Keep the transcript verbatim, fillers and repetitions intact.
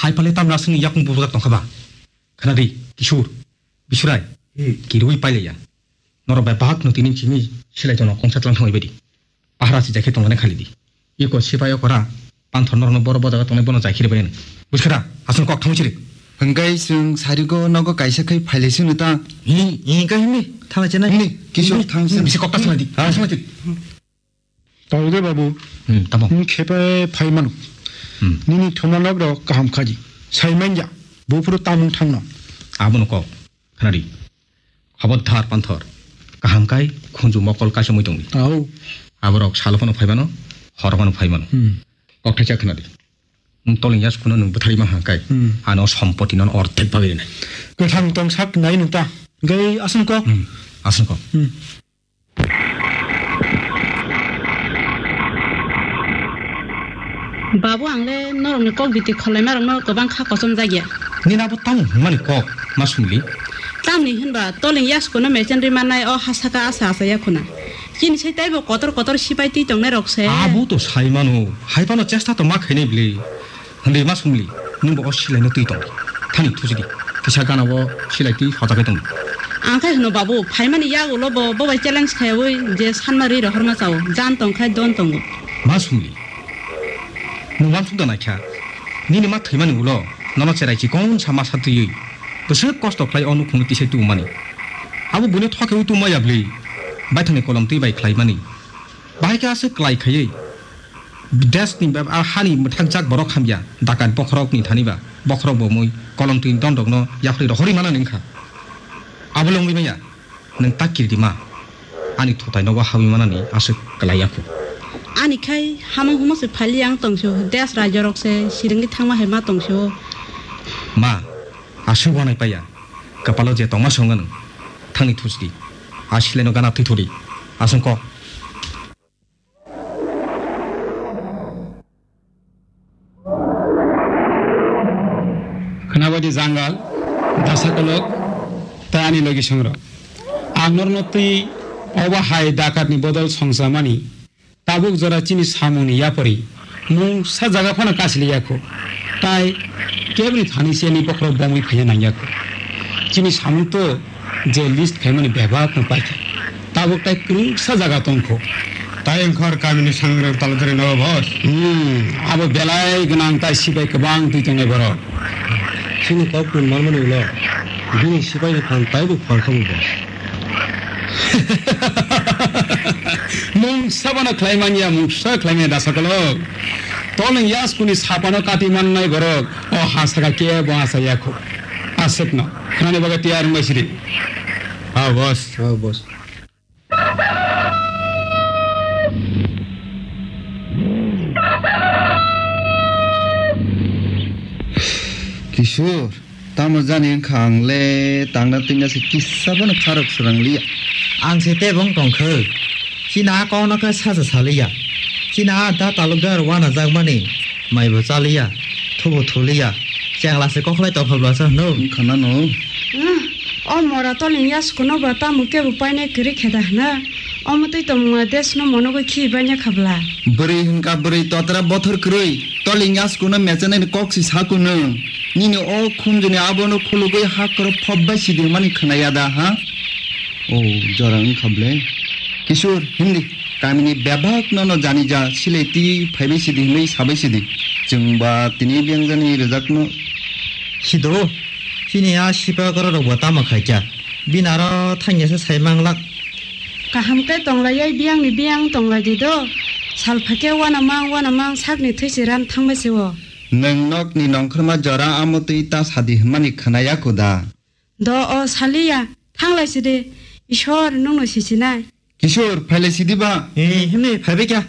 Hai pale tamni aswkni yakung bubujak tongkha ba? Khna di, Kishur, Bisurai, Hmm. kirwi pailaiya. Norok bai bahak no tini chini silai tono kongsa tlang thangwi badi. Pahara si jakhe tongmani khali di. Iko sipai okora, panthor norokno boro bojaga tongnai bono jakhiri bai. Buskha da, aswk kok thangwi chiri. Hwnkhe chwng sarigo nogo kaisa khai phailai sino ta. Ni, ni ka hini, thangwi chenai. Ni, Kishur, Ni, thang sino. Bisi kok ta thangwi di, Ha? thangwi di. Tawde babu, Hmm, tamo. Nwng khepe phai mano. Hmm. Nini thuma nok rok kaham khaji. Sai manya, buphuru tamung thangno. Abono kok, khnadi. Habot dhar panthor. Kaham kai, khunju mokol kaisa mui tongdi. Au. Aborok salo phano phai mano, horo phano phai mano. Hmm. Kok thaisa khnadi. Nwng toleng yas kuno nwng bwthari ma hangkai. Hmm. Ano sompoti non orthek bagwi rinai. Kwthang tong sak nai nwng ta. Gai aswng kok. Hmm. Aswng kok. Hmm. Babu, ang le norokni kok biti khwlaimarokno kwbang kha kochomjak ya. Nini abo tamo hwnmani kok, ma sumli? Tamni hwnba, toleng yaskuno mechen ri mannai o ha saka asa asa ya khuna. Chini sai taibo kotor kotor sipai twi tongnai rok se. Abo to sai mano, hai phano chesta to ma khainai bwle. Hwnwi ma sumli, nwng bo o silaino twi tong. Thani thuchidi, kisa gana o silai twi hojakai tong. Ang khai hwno babu, phaimani yak ulo bo, bo bai challenge khaiwi je sanma ri rohorma chao, jan tong khai don tongo. Ma sumli, nwng uansuk da naikha, nini ma thwimani ulo, nono cherai chikon sa masa twiwi, bwswk kosto khlai o nukhungno tisai tubumani. Abo buino thokhewi tubuma ya bwli, baithangni kolom twi bai khlaimani. Bahai khe aswk klai khaiwi, desni ba, a hani mwthakjak borok hamya, dakat bokhorokni thani ba, bokhorok bo mui kolom twi don rokno yaphri rohorwi manani wngkha. Abo le wngwi manya, nwng ta kiridi ma, ani thutai nogo habwi manani aswk klai ya kho. Ani khai hamung humung se phali ang tongso, des rajyo rok se siringwi thangma hai ma tongso. Ma, aswk wanai paiya, kapalo je tongma songo nwng, thangni thuchdi, a silaino gana thwi thudi, aswng kok. Khwnabadi jangal, dasa kolok, tei ani logi songrok. Ang norno twi obo hai dakatni bodol songchamani tabuk jora chini samungni yapori mungsa jaga phano kasiliya kho. Tai keboni thani se ni bokhorok bomwi phaiya nangya kho. Chini samung to je list khaimani bebak no paikha. Tabuk tai kwrwngsa jaga tongkho. Tai wngkhor kamini sangrang talodari no boss. Hmm, abo belai gwnang tai sipai kwbang twi tongnai borok. Chini kok tun manmani ulo bini sipai ni phan taibo phalkha bo boss. Mungsa bono khlai manya, mungsa khlai manya dasa kolok. Toleng yaskuni sapano kati mannai borok o ha saka kebo asa yakho. Aswkno khnani bagwi tiyar wngbai sidi. Ha boss. Ha boss. Kishore, tamo jani wngkha ang le tangna twina se kisa bono kharok srang liya. Ang se tebong tongkhe. Chini a kokno khe sacha saliya. Chini a da talukdar wanajakmani maibo chaliya, thubo thuliya. Chengla se kokhlai tongkha bwlasa hwno. Wngkha nano. Hmm, o mora toleng yaskuno ba tamo kebo painai kwrwi khe da hwna? Omo twi tongmungla desno monogwi khi banya kha bwla. Bwrwi hwnkha bwrwi totra bothor kwrwi, toleng yaskuno mechanani kok si saku nwng. Nini o khunjuni abono khulugwi hakhoro phop bai sidi hwnmani khwnaya da, ha? O, jora wngkha ble. Kishore, hindi, kamini bebak nono jani ja, silai twi phaibai sidi hwnwi sabai sidi. Chwng ba tini biyang jani rwjakno. Sido, chini a sipa gorok rok bo tamo khai kya? Bini aro thangya se sai manglak. Kaham khe tonglaiya, biyang ni biyang tonglai di do. Sal phakhe wana mang, wana mang sakni thwi se ran thangbai se o. Nwng nokni nongkhorma jora amo twi ta sadi hwnmani khwnaya kuda. Do o saliya, thanglai sidi, Ishwar nwngno sichinai. Kishore, phailai sidi ba? Eh, himni phaibai kya?